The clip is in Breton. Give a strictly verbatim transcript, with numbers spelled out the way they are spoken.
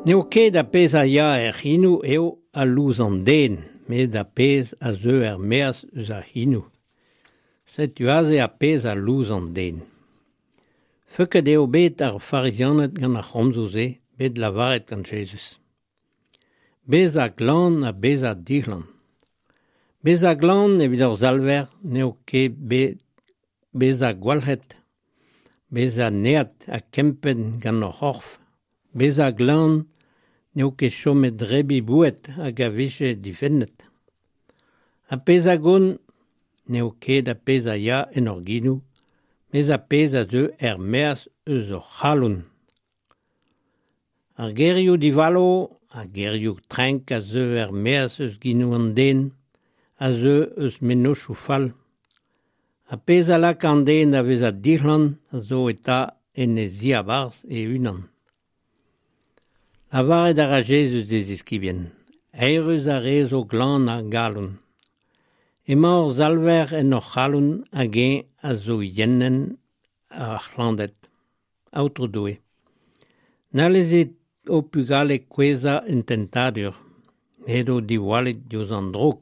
N'eo ket ar pezh a ya er c'hinoù eo a louz an den, met ar pezh a zeu er-maez eus ar c'hinoù. Setu aze ar pezh a louz an den. Feuket eo bet ar farizianed gant ar c'homzoù-se bet lavaret gant Jezuz. Bezañ glan ha bezañ dic'hlan. Bezañ glan evit hor Salver n'eo ket bet bezañ gwalc'het, bezañ neat ha kempenn gant hor c'horf. Bezañ glan n'eo ket chomet debriñ boued hag a vije difennet. Ar pezh a gont n'eo ket ar pezh a ya en hor genoù, met ar pezh a zeu er-maez eus hor c'halon. Ar gerioù divalo, ar gerioù trenk a zeu er-maez eus genoù an den, a zeu eus mennozhioù fall. Ar pezh a laka an den da vezañ dic'hlan a zo eta en e ziabarzh e-unan. Lavaret a ra Jezuz d'e ziskibien, Eürus ar re zo glan a galon. Emañ hor Salver en hor c'halon hag eñ a zo eienenn ar c'hlanded. Aotrou Doue. Na lezit ho pugale kouezhañ en tentadur, met o diwallit diouzh an droug.